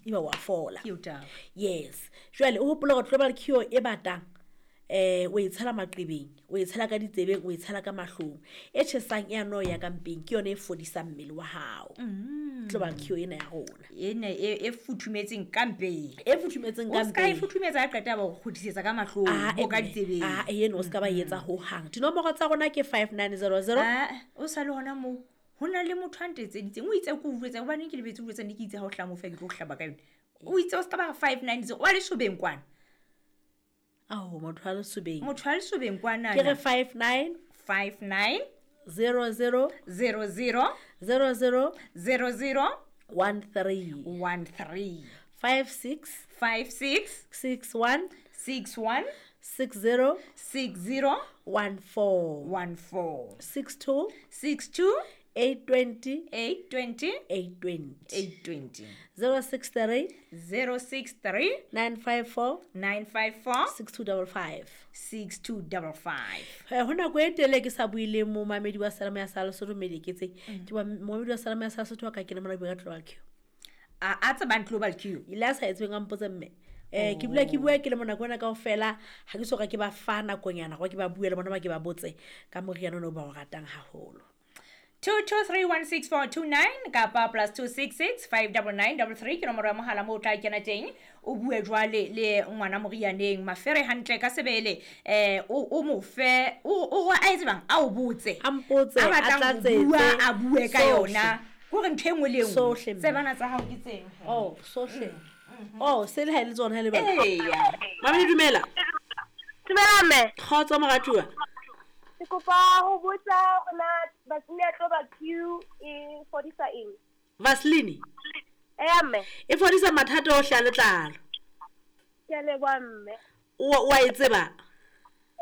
eba wa fola. Ke eo taba. Yes, jwale o hopola gore global cure e batang o e tshela maqebeng, o e tshela ka ditsebeng, o e tshela ka mahlong, e tjhesang e ano ya ka mpeng, ke yone e fodisang mmele wa hao. Global cure ena ya rona Ena e futhumetseng ka mpeng. E futhumetseng ka O ska e mpeng. futhumetsa ha qeta ba o kgutlisetsa ka mahlong Ah, o ka mme. ditsebeng. Ah, eno o ska ba etsa hohang. Dinomoro tsa rona ke 5900. Ah, o sa le hona moo ho na le motho a ntetseditseng, o itse ke o jwetsa hobaneng ke lebetse ho jwetsa, ne ke itse ha o hlaha moo feela ke tlo o hlaba ka yone. O itse o ska ba 590 wa lesobeng kwana. Ao, motho wa lesobeng. Motho wa lesobeng kwana. Ke re 59 59 00 00 00 00 13 13 56 56 61 61 60 60 14 14 62 62 820 820 820 820 063 063 954 954 6255. 6255. Ho nako e telele ke sa bue le momamedi wa Salama ya sa Lesotho mediketseng. Ke ba momamedi wa Salama ya sa Lesotho wa ka ke le mona bua ka Global Cure. A tsebang Global Cure. Ile a sa etsweng a mpotse mme. Ke bula ke bua ke le mona kona kaofela, ha ke soka ke ba fa nakonyana gore ke ba bue le bona ba ke ba botse ka moriana ono ba o ratang haholo. 22316429 kapa +266 59933 ke nomoro ya mohala moo o tla kena teng, o bue jwale le ngwana morianeng mafere hantle ka sebele, o mo fe o a etse bang a o botse, A mpotse, a a batlang ho tlatsetse. bua, a bue ka Sohle. yona, hore ntho e nngwe le e nngwe. Sohle, mme. Tsebana tsa hao ke tseng. Oh, sohle. Oh, se le ha e le tsona ha le bana. Eya. Mame, dumela. Dumela mme. Kgotso moratuwa. Ke kopa ho botsa hore na Vaseline ya Global Q e fodisa eng? Vaseline? Eya mme. E fodisa mathata ohle a letlalo. Ke a leboha mme. O wa e tseba?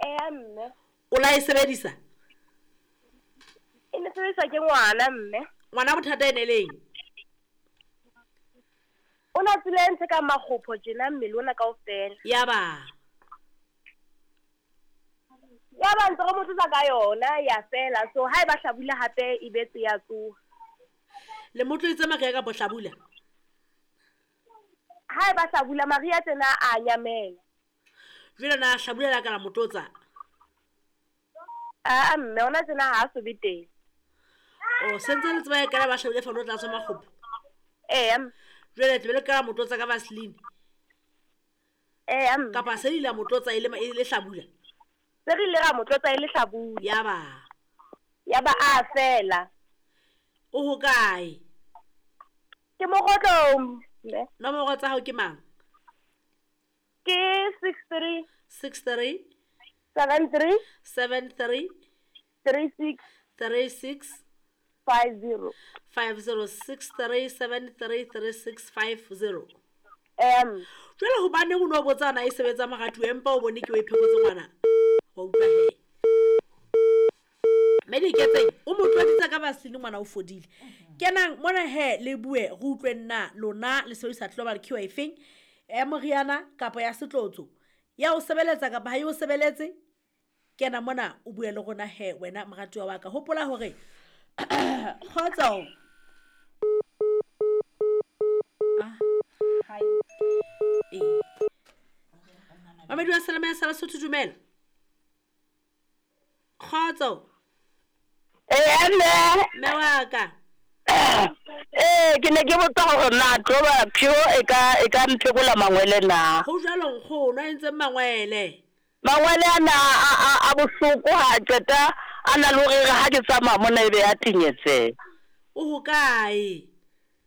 Eya mme. O la e sebedisa? E ne sebediswa ke ngwana mme. Ngwana bothata e ne leng? O na tswile ntho ka makgopho tjena mmele ona kaofela. Yaba. Ya ba ntse re mo tlotsa ka yona ya fela, so ha e ba hlabula hape e betse ya tsoha. Le mo tloetse mariha kapa hlabula? Ha e ba hlabula mariha tsena a nyamela. Jwale na hlabula la ka la mo tlotsa? Ah, mme ona tsena ha a so be teng. O sentse le tseba e kana ba hlabule fa no tla tswa makgopho? Eya mme. Jwale tle be le ka mo tlotsa ka Vaseline? Eya mme. Kapa se ile mo tlotsa e le hlabula? Se re ile ra mo tlotsa e le hlabula. Yaba. Yaba a fela. O hokae? Ke Mokgotlong, mme. Nomoro tsa hao ke mang? Ke 63 63 73 73 36 36 50. 50 63 73 36 50. Jwale hobaneng o no botsa na e sebetsa moratuwa empa o bone ke o e phekotse ngwana? Wa utlwa he. Mediketseng o mo tloditse ka Vaseline ngwana o fodile. Kenang mona he le bue re utlwe nna lona le sebedisa Global Cure efeng? Ya moriana kapa ya setlotso? Ya o sebeletsa kapa ha e o sebeletse? Kena mona o bue le rona he wena moratuwa wa ka. Hopola hore kgotso. Ah. Hi. Ee. Mamedi wa Salama ya sa Lesotho, dumela. Kgotso. Eya mme. Mme wa ka. Ke ne ke botsa hore na Global Cure e ka mphekola mangwele na? Ho jwalo nkgono, a entseng mangwele? Mangwele ana a bohloko ha a qeta a na le hore ha ke tsamaya mona ebe ya tenyetseha. O hokae?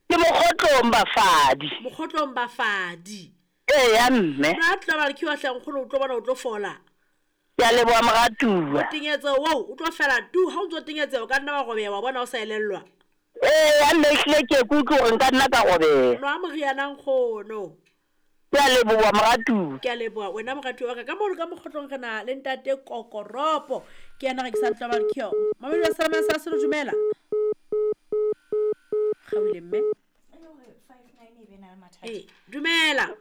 Ke Mokgotlong bafadi. Mokgotlong bafadi. Eya mme. Na Global Cure hle nkgono o tlo bona o tlo fola. Ke a leboha moratuwa. Tenyetseho oo o tlo fela tu, ha o ntso tenyetseha o ka nna wa robeha wa bona o sa elellwa. Eya mme ehlile ke ke utlwe hore nka nna ka robeha. Nwa moriana nkgono. Ke a leboha moratuwa. Ke a leboha wena moratuwa wa ka. Ka mono ka Mokgotlong re na le ntate Kokoropo. Ke yena rekisang Global Cure. Mamedi wa Salama ya sa Lesotho, dumela. Kgaohile mme. Ee, dumela.